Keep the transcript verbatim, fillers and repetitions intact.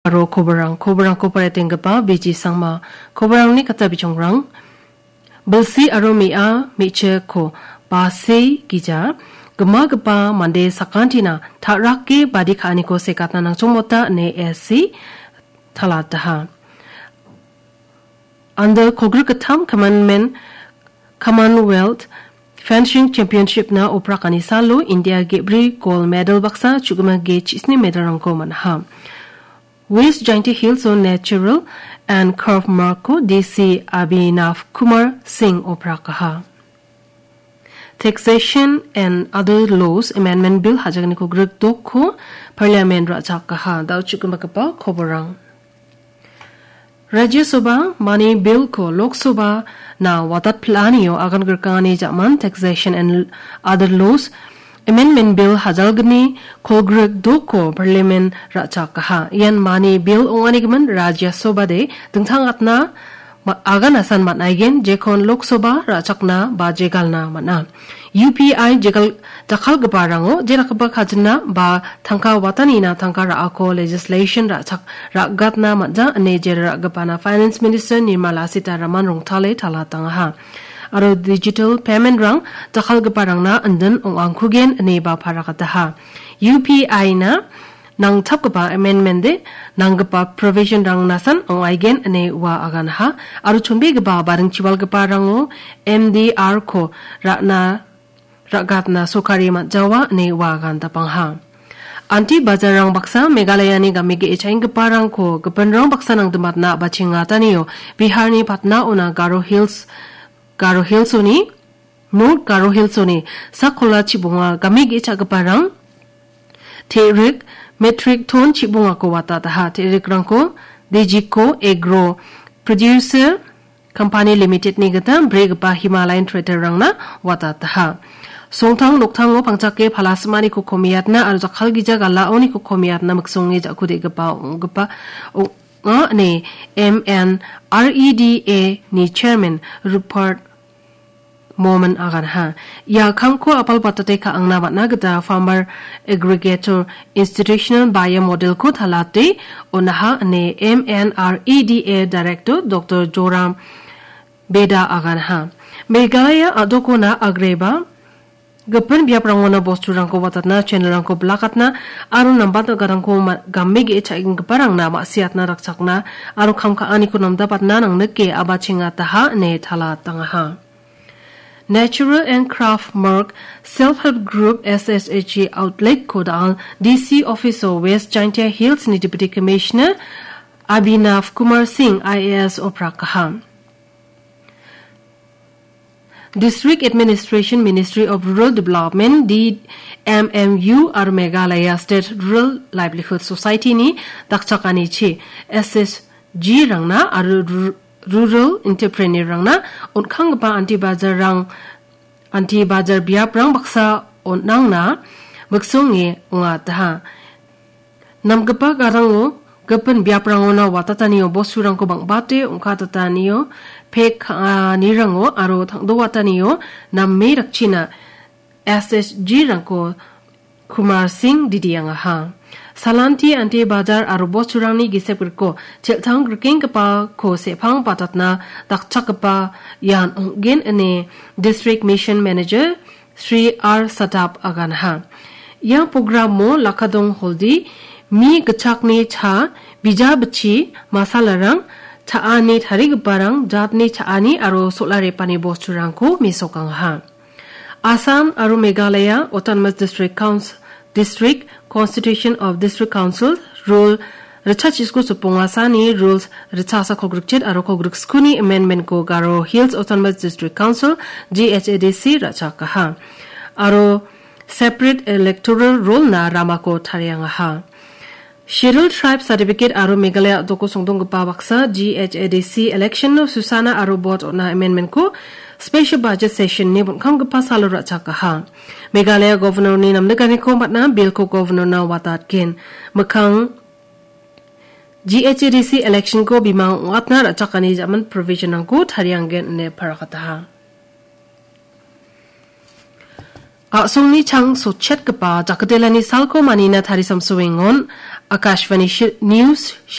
Aro koborang, koborangko paretenggipa B G Sangma, koborangni kata bijongrang, bilsi aro me·a me·chikko base gija, gimagipa mande sakantina ta·rake badi ka·aniko sekatna nangchongmota ine S C talataha. Under kogrik-gittam Commonmen-, Commonwealth Fencing Championship-na oprakani salo India ge·bri gold medal baksa, chu·gima ge chisni medal-rangko man·aha. West Jaintia Hills-o Natural and Craft Mark-ko D C Abhinav Kumar Singh oprakaha. Taxation and Other Laws Amendment Bill hajagniko grikdokko Parliament ra·chakaha. Da·o chu·gimagipa koborang. Rajya Sabha mani bill-ko Lok Sabha-na watatpil·anio agan grikangani ja·man Taxation and Other Laws Amendment Bill hajalgni kolgrik dokko Parliament ra·chakaha. Ian mani bill ong·anigimin Rajya Sabha-de dingtang atna ma-, agan asan man·aigen, jekon Lok Sabha ra·chakna ba jegalna man·a. U P I jegal jakkalgiparango jerakgipa kajina ba tangka watanina tangka ra·ako legislation ra·chak-, ra·gatna man·ja ine jera ra·gipana Finance Minister Nirmala Sitharaman rongtale talatangaha. Aro digital payment-rang jakkalgiparangna indin ong·angkugen ine ba parakataha. U P I-na nangchapgipa amendment-de nanggipa provision-rang nasan ong·aigen ine ua aganha. Aro chonbegipa baring chibalgiparango M D R-ko ra·na ra·gatna sorkari man·jawa ine ua agan dapangha. Anti bajarrang baksa Meghalayani game ge·e cha·enggiparangko gipinrang baksa nangdimatna a·bachengatanio Biharni Patna-ona Garo Hills, Garo Hills-oni, North Garo Hills-oni sakkola chibonga game ge·e cha·giparang te·rik metric ton chibongako watataha. Te·rikrangko Dejiko Agro Producer Company Limited-ni gita brigipa Himalayan Treader-rangna watataha. Songtang noktango pangchake palasimani kokomiatna aro jakkalgija galaoni kokomiatna miksonge ja·kudegipa ong·gipa ong·a ine M N R E D A-ni Chairman Rupert Momin aganha. Ia kamko apal batate ka·angna man·a gita Farmer Aggregator Institutional Buyer Model-ko talate on·aha ine M N R E D A Director Doctor Joram Beda aganha. Meghalaya a·dokona agreba gipin biaprangona bosturangko watatna, channel-rangko blakatna aro nambat nagarangko ma-, game ge·e cha·enggiparangna ma·siatna rakchakna aro kam ka·aniko namdapatna nangnike a·bachengataha ine talatangaha. Natural and Craft Mark Self Help Group S S H G Outlet-ko da·al D C Office-o West Jaintia Hills-ni Deputy Commissioner Abhinav Kumar Singh I A S oprakaha. District Administration Ministry of Rural Development, D M M U, aro Meghalaya State Rural Livelihood Society-ni dakchakanichi S S G-rangna aro ru-, rural entrepreneur-rangna on·kanggipa anti bajarrang, anti bajar biaprang baksa on·angna miksonge ong·ataha. Namgipa garango gipin biaprangona watatanio bosturangko bang·bate ong·katatanio pek ka·anirango aro tangdowatanio name rakchina S S G-rangko Kumar Singh didiangaha. Salanti ante bajar aro bosturangni gisep griko chel·tang grikenggipako sepang batatna dakchakgipa ian ong·gen ine District Mission Manager Sri R Sadap aganha. Ia programo Lakadong Holdi, mi gitchakni cha, bija bichi, masalarang, cha·ani tarigiparang, jatni cha·ani aro sola repani bosturangko mesokangaha. Assam aro Meghalaya Autonomous District Council, District Constitution of District Council Rule ritchachisku sopongasani Rules ritchasa kolgrikchit aro kolgriksku-ni amendment-ko Garo Hills Autonomous District Council, G H A D C, ra·chakaha. Aro separate electoral roll-na ramako tariangaha. Scheduled Tribe Certificate aro Meghalaya a·doko songdonggipa baksa G H A D C election-o susana aro vote on·a amendment-ko special budget session-ni bon·kamgipa salo ra·chakaha. Meghalaya Governor-ni namnikaniko man·a, bill-ko Governor-na watatgen. Mikkang G H A D C election-ko bimang ong·atna ra·chakani jaman provision-rangko tarianggen ine parakataha. A·songni chang sotchetgipa jakdelani salko manina tarisamsoengon Akashvani shi-, News